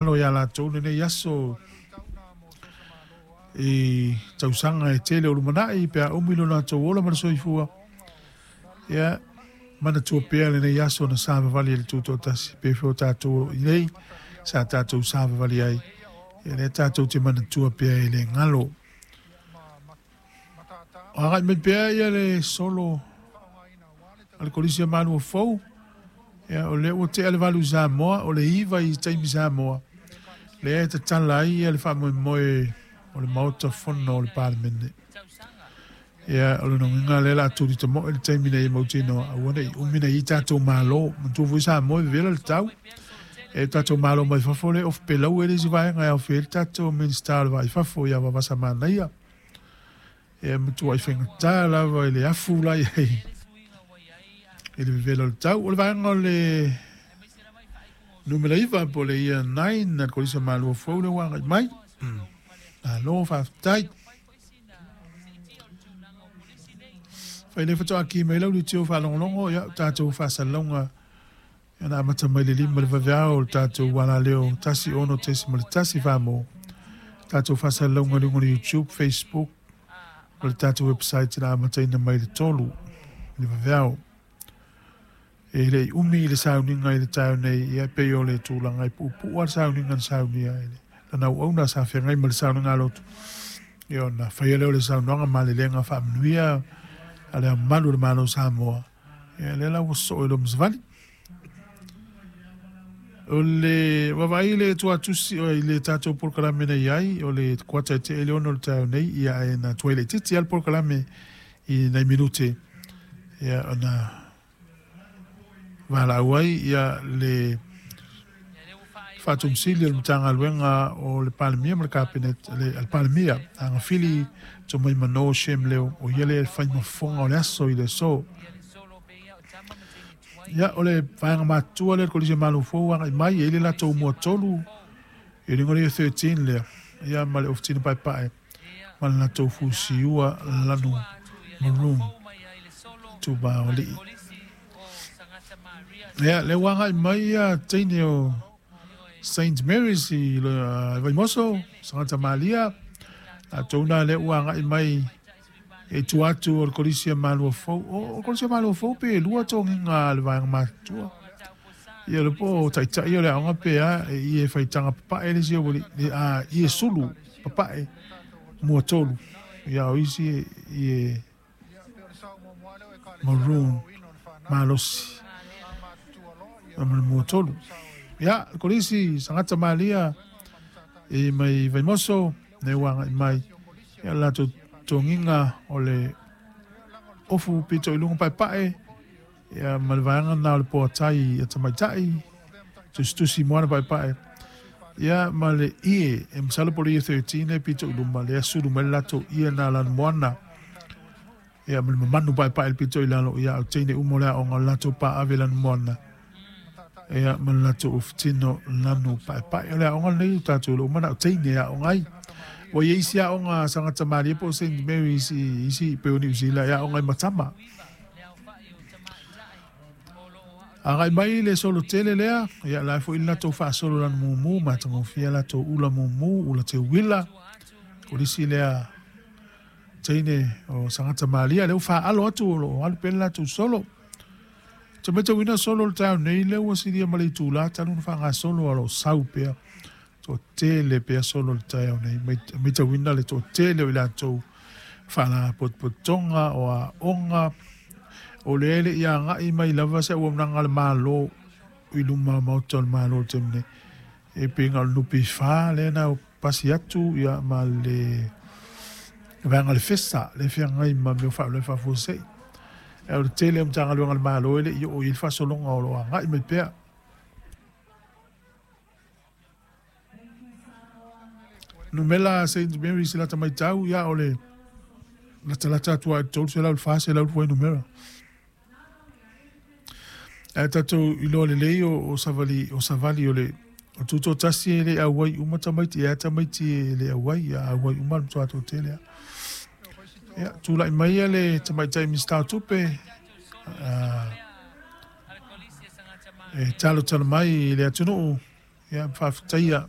Malo iā latou lenei aso i tausaga e tele o lumanai pe a umi lo latou ola ma le soifua. Ia, manatua pea lenei aso na savavali ai le Tutoatasi, pe fea o tatou o lo o i nei, sa tatou savavali ai, ia lea tatou te manatua pea e le galo. O agai mai pea ia le solo a le Kolisi o Malua Fou, ia o lea ua tea le 8 i Samoa, o le 9 i taimi Samoa, lea e tatala ai ia le faamoemoe o le Maota Fono o le Palemene. Ia, o lona uiga lea o le a tuli tamoe le taimi nei e mautinoa, aua ne i umi na i ai tatou malo. Manatua foi Samoa e vevela le tau. E tatou malo mai fafo lea e ofu pelau ai le isi vaega e aofia ai le tatou Minisita o le Va i Fafo ia Vavasa Manaia. E matuai faigata lava i le afu la i ai i le vevela o le tau. O le vaega o le numera 9 po o le year 9 a le Kolisi o Malua Fou lea ua agai mai. Malo faafetai. Fai le faatoa ki mai lau leitio faalogologo, ia tatou faasalalauga na amata mai le 5 le vaveao o le tatou alaleo 16.1 Famo. Tatou faasalalauga i luga o le YouTube, Facebook ma le tatou website na amataina mai le 3 le vaveao. E le i umi i le sauniga i le taeao nei, ia pei o le tulaga e puupuu lava le sauniga na saunia e lana auauna sa feagai ma le sauniga lotu. Ia ona faia lea o le saunoaga malelega faamanuia a le Ao Mamalu o le Malo o Samoa. Ia lea la ua sosoo i loma savali. O le vaavaai i le tuatusi i le tatou polokalame na i ai, o le kuata e tea i le 6 o le taeao nei, ia ae na tuai laitiiti lava le polokalame i nai minute, ia ona valaau ai ia le Faatomusili o le Matagaluega o le Palemia ma le Kapeneta, le Palemia, Agafili Tomaimano Shem Leo, o ia lea e fai ma fofoga o le aso i le aso. Ia, o le vaega matutua lea o le Kolisi o Malo Fou agai mai, e i ai le latou muatolu, i le igoa 13 lea, ia ma le ofitina paepae, ma le latou fusiua lanu maroon, tuba o alii. Ia, lea ua agai mai ia teine o Saint Mary's i Vaimoso, Sagata Malia, latou na lea ua agai mai e tua atu o le Kolisi a Malua Fou. O le Kolisi a Malua Fou pe lua togiga a le vaega matutua. Ia le po taitai o le aoga pe a, e ie faitaga papae le isi aualii, a ie sulu papae mua tolu. Ia o isi ie maroon malosi ma le mua tolu. Ia, le Kolisi, Sagata Malia i mai Vaimoso, ne ua agai mai. Ia le latou togiga o le ofu pito i luga paepae, ia ma le vaega na o le poatai a tamaitai, tusitusi moana paepae. Ia ma le ie, e masalo po o le year 13 le pito i luma, lea sulu mai le latou ie na lanu moana. Ia ma le mamanu paepae le pito i lalo, ia au teine uma o le aoga o le latou paave lanu moana. Ia ma le latou ofutino lanu paepae. O le aoga lenei o tatou le uma na o teine e aoga ai. Ua i ai isi aoga Sagata Malie po o Saint Mary's i isi pei o Niu Sila e aoga ai ma tama. Agai mai le solo tele lea, ia la foi le latou faasolo lanu mumu, matagofie latou ula mumu, ula teuila, kolisi lea teine o Sagata Malia, lea ua faalo atu o lo o alu pea le latou solo. Te matauina solo le taeao nei, lea ua silia ma le itula talu ona faagasolo o lo o sau pea, toatele pea solo le taeao nei. Matauina le toatele o i latou faalapotopotoga o aoga, o lea e le i agai mai lava se auaunaga a le Malo i luma o Maota o le Malo i le taimi nei. E pei na o le NPF lea na pasi atu ia ma le vaega o le FESA lea e feagai ma mea o faalavelave faafuasei. Ae o le tele o Matagaluega a le Malo e le i oo i ai le faasologa o lo o agai mai pea. Numela Saint Mary's i lata matau, ia o le latalata atu lava i le 300 i le 400 le fuainumera. Ae tatou iloa lelei o savali o savali o le o tutoatasi e le auai uma tamaiti, e a tamaiti e le auai, ia auai uma le matua toatele lava. Ia, tulai mai ia le tamaitai Minisita o Tupe, e talotalo mai i le atunuu. Ia faafetaia.